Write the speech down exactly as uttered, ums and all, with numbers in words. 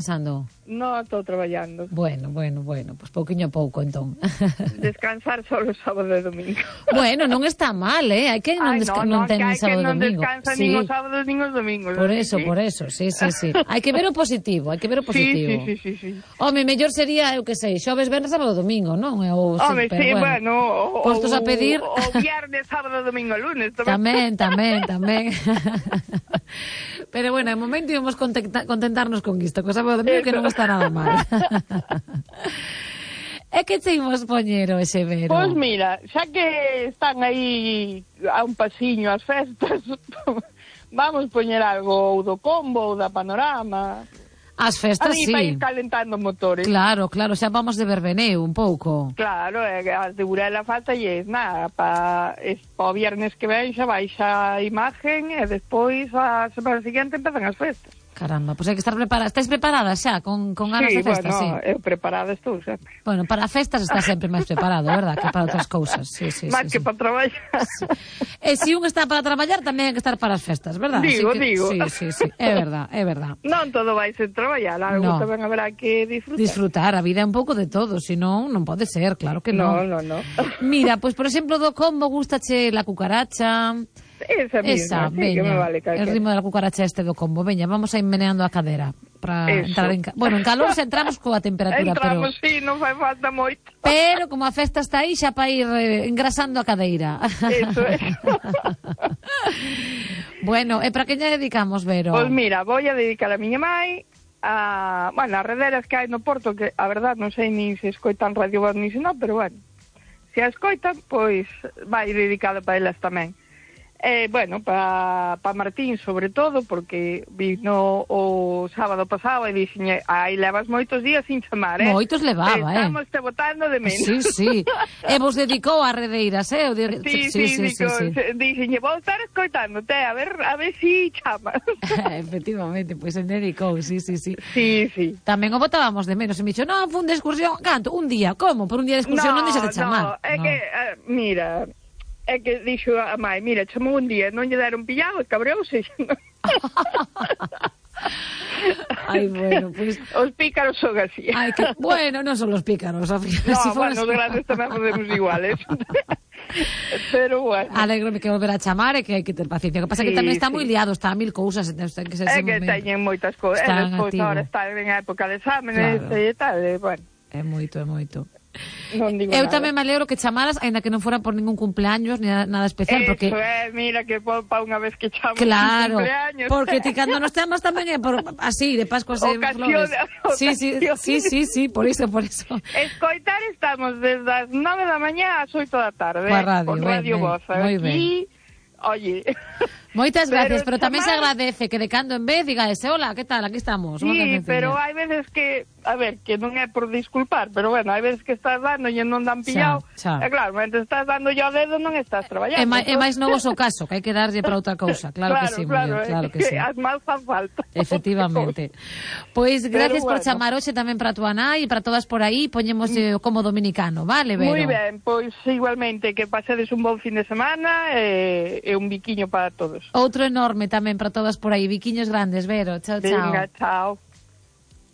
descansando? Non, estou traballando. Bueno, bueno, bueno, pois pues pouquiño a pouco, entón. Descansar só o sábado e domingo. Bueno, non está mal, eh? Hai que non, Ay, desca no, non no, ten que nin hai sábado que e non domingo. descansa Sí. nin os sábados nin os domingos. Por ¿sí? eso, por eso, sí, sí, sí. Hai que ver o positivo, hai que ver o positivo. Sí, sí, sí, sí, sí. Home, mellor sería, eu que sei, xoves, venres, sábado, domingo, non? Ou, Home, pero sí, bueno, o, postos a pedir... o viernes, sábado, domingo, lunes. Tamén, tamén, tamén. Pero bueno, de momento íbamos contenta, contentarnos con isto, que o sábado domingo que non está nada mal. E que te imos poñer o ese Vero? Pois mira, xa que están aí a un pasiño as festas, vamos poñer algo ou do Combo ou da Panorama. As festas, aí, sí. para ir calentando motores. Claro, claro, xa vamos de verbeneo un pouco. Claro, e as de Burela falta e nada, para o viernes que ven xa baixa a imagen e despois a semana seguinte empezan as festas. Caramba, pois pues hai que estar preparada. Estáis preparadas xa, con, con ganas sí, de festas? Bueno, sí, eu preparada estou sempre. Bueno, para festas está sempre máis preparado, verdad? Que para outras cousas. Sí, sí, máis sí, que sí. para traballar. Sí. E se un está para traballar, tamén hai que estar para as festas, verdad? Digo, que, digo. Sí, sí, sí, é verdad, é verdad. Non todo vai ser traballar, algo No. tamén haberá que disfrutar. Disfrutar, a vida é un pouco de todo, senón non pode ser, claro que non. No, no, no. Mira, pois, por exemplo, do Combo gustache la cucaracha... Esa misma, Esa, sí, veña, que me vale el ritmo de la cucaracha este do Combo. Veña, vamos a ir meneando a cadera para entrar en... Ca... Bueno, en calor se entramos coa temperatura, entramos, pero... sí, non fai falta moito. Pero como a festa está aí, xa para ir eh, engrasando a cadeira. Eso é. Bueno, e para que lle dedicamos, Vero? Pois mira, vou a dedicar a miña mai a, bueno, as rederas que hai no Porto, que a verdad non sei nin se escoitan Radio Voz ni se non, pero bueno, se a escoitan, pois vai dedicada para elas tamén. Eh, bueno, para pa Martín sobre todo, porque vino o sábado pasado e dixen, aí levas moitos días sin chamar, eh? Moitos levaba, eh? Estamos te botando de menos. Sí, sí. E vos dedicou a redeiras, eh? O de... Sí, sí, sí, sí, sí, sí. Dixen, vou estar escoitándote, a ver, a ver si chamas. Efectivamente, pois pues, se dedicou, sí, sí, sí. Sí, sí. Tamén o botábamos de menos, e me dixo, non, fun de excursión, canto, un día, como? Por un día de excursión non, non deixas de chamar. No, é no. que, uh, mira... É que dixo a mai, mira, chamou un día, non lle deron pillado, e cabreouse. Ai, bueno, pois... Pues... Os pícaros son así. Ai, que... Bueno, non son os pícaros, ao final. No, si bueno, os grandes tamén podemos iguales. Pero bueno. Alegro-me que volver a chamar e que hai que ter paciencia. O que pasa é sí, que tamén está sí. moi liado, está a mil cousas. Ten que ser é que momento. Teñen moitas cousas. E despois agora está en época de exámenes claro. e tal, e bueno. É moito, é moito. Non digo eu nada. Tamén me alegro que chamaras, aínda que non fora por ningún cumpleaños ni nada especial. Eso porque... é, mira que pa unha vez que chamamos claro, cumpleaños. porque ti cando nos chamas tamén é por así, de Pascuas e flores. Sí, sí, sí, sí, sí, por iso, por iso. Escoitar estamos desde as nove da mañá ás oito da tarde. Coa radio, con Radio Voz. Moi ben. Oye... Moitas gracias, pero, pero tamén chamar... se agradece que de cando en vez diga ese, hola, que tal, aquí estamos. Sí, pero hai veces que, a ver, que non é por disculpar, pero bueno, hai veces que estás dando e non dan pillado, xa, xa. E claro, mentre estás dando yo o dedo non estás traballando. É, ma, é máis novos o caso, que hai que darlle para outra cousa, claro, claro que sí, claro, muller, claro que, que sí. As mal fan falta. Efectivamente. Pois pues, gracias bueno. por chamar hoxe tamén para túa nai e para todas por aí, poñemos eh, como dominicano, vale, Vero? Moi ben, pois pues, igualmente, que pasedes un bon fin de semana e, e un biquiño para todos. Outro enorme tamén para todas por aí, biquiños grandes, Vero. Chao, chao. Venga, chao.